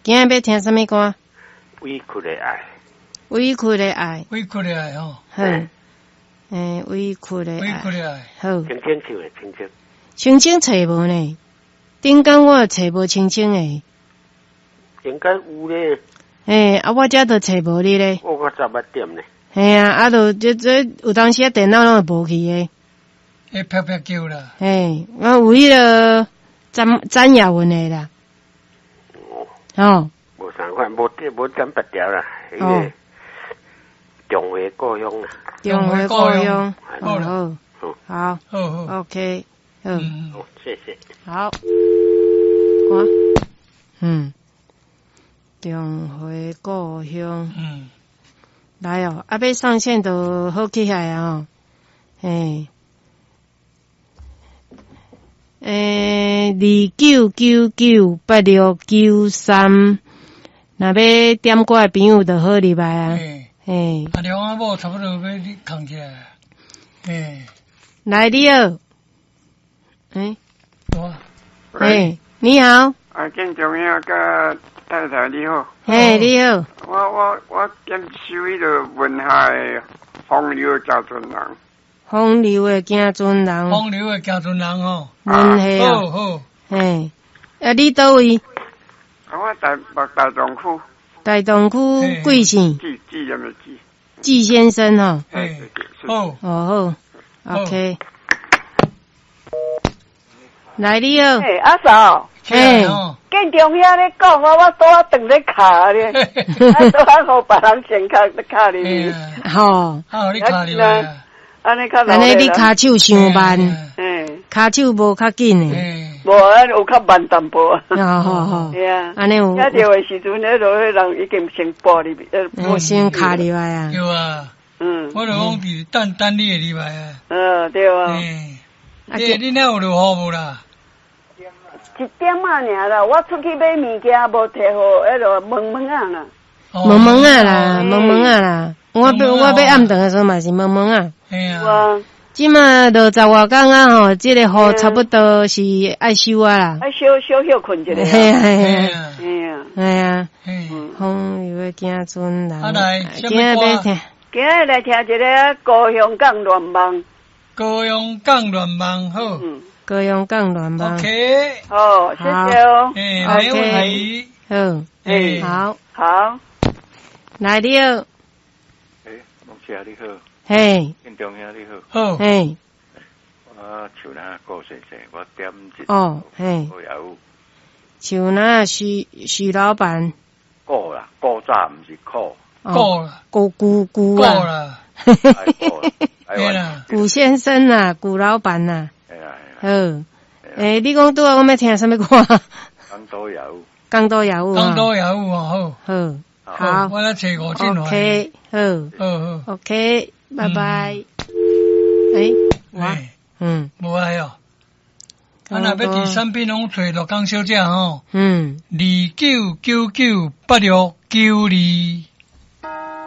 今仔欲聽啥物歌？委屈的愛。委屈的愛。委屈的愛吼。好。委屈的愛。委屈的愛。好。清清唱的清清。清清揣無呢？頂工我揣無清清的。應該有咧。啊，我這都揣無你咧。我較早捌點咧。嘿啊，啊，就這這有當時啊，電腦攏會無去的。會啪啪叫啦。嘿，我有彼个詹詹雅雯的啦。哦。無仝款，無點無點別條啦。彼个重回故鄉啦。重回故鄉。好。好。好好。 OK。好。好，謝謝。好。我。重回故鄉。來哦，啊，欲上線就好起來啊！吼，嘿。29998693，若欲點歌的朋友就好入來啊。嘿。啊，梁阿某差不多欲囥起來。來，你好。我。你好。啊，建中兄佮太太你好。嘿，你好。我點首彼个文夏的風流行船人。風流的行船人。風流的行船人吼。文夏好好。嘿，啊，你佗位？啊，我台北大同區。大同區貴姓？紀紀什麼紀？紀先生吼。好。哦好，OK。來，你好。嘿，阿嫂。嘿。建中兄咧講，我拄仔轉咧敲咧，啊，拄仔予別人先敲敲入去。吼。啊，你敲入來。按呢較按呢你跤手傷慢，跤手無較緊的。無啊，有較慢淡薄。哦好好。對啊。按呢有。聽著的時陣，彼落彼人已經先撥入去。先敲入來啊。對啊。我就講佇等等你會入來啊。對啊。你那有落雨無啦？一點仔爾啦，我出去買物件無提予，彼落濛濛仔啦。濛濛仔啦，濛濛仔啦。我欲暗頓的時陣嘛是濛濛仔。啊。這馬落十外工啊吼，這個雨差不多是愛收啊啦。愛小小歇睏一下。嘿啊嘿啊。嘿啊。嘿啊。風流的行船人。啊來，今仔欲聽。今仔來聽一个高雄港亂夢。高雄港亂夢好。高雄港亂夢。 OK。好，謝謝哦。沒問題。好。好。好。來，你好。牧師你好。嘿。建中兄你好。好。嘿。我樹林顧先生，我點一哦，嘿。樹林徐徐老闆。顧啦，古早毋是苦。顧啦。顧顧顧啦。古先生啊，古老闆啊。好。你講拄仔我欲聽啥物歌？江都有。江都有。江都有哦，好。好。好。我來揣五進來。 OK，好。好好。 OK，拜拜。哇，無愛哦。啊，若欲佇產品攏揣樂江小姐吼。29998692。